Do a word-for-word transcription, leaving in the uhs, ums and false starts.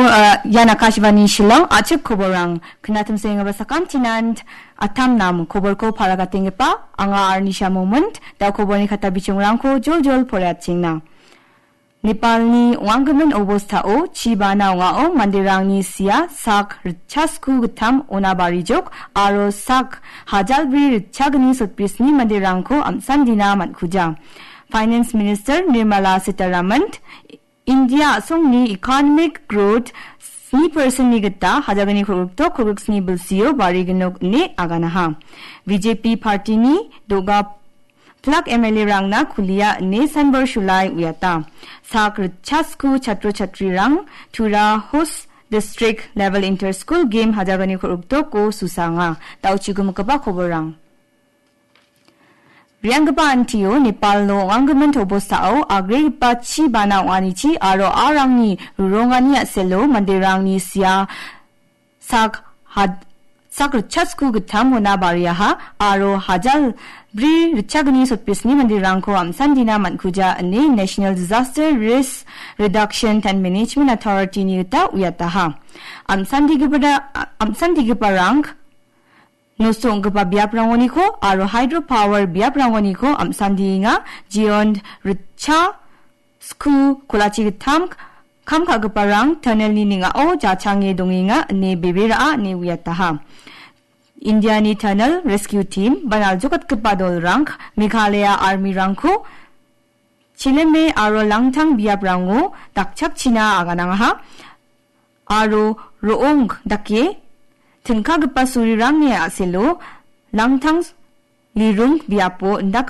Uh, ian Akashvani Shillong, a·chik koborrang. Knatimsenggipa sakantinan atam nam koborko paragatenggipa, anga Arnisha Momon, da koborni kata bichongrangko jol jol poraiatchengna. Nepalni ong·anggimin obostao chibana ong·ao manderangni sia sak ritchasku gittam ona barijok aro sak hajalbri ritchagni sotbrisni manderangko am·sandina man·kuja. Finance Minister Nirmala Sitharaman, India a·songni economic growth sni percent-ni gita hajalgni kolgrikdok kolgriksni bilsio barignok ine aganaha. B J P party-ni do·ga plak M L A-rangna kulia ine sanbor sulai uiata. Sak ritchasku chatro chatrirang Tura Host District Level Inter-School Game hajalgni kolgrikdoko susanga. Da·o chigimikgipa koborrang. Re·anggipa antio Nepalno ong·anggimin tobostao agregipa chi bana ong·anichi aro arangni rurongani a·selo manderangni sia sak had-, sak ritchasku gittam ona bariaha aro hajal bri ritchagni sotbrisni manderangko am·sandina man·kuja ine National Disaster Risk Reduction and Management Authority-ni gita uiataha. Am·sandigipara-, am·sandigiparang nosto ong·gipa biaprangoniko aro hydropower biaprangoniko am·sandienga, jeon ritcha sku kolachi gittam kam ka·giparang tunnel-ni ning·ao jachange dongenga ine bebe ra·a ine uiataha. Indiani Tunnel Rescue Team ba naljokatgipa dolrang Meghalaya Army-rangko chileme aro langtang biaprango dakchakchina aganangaha. Aro ro·ong dake tingkagipa surirangni a·selo langtang lirung biapo indakgipa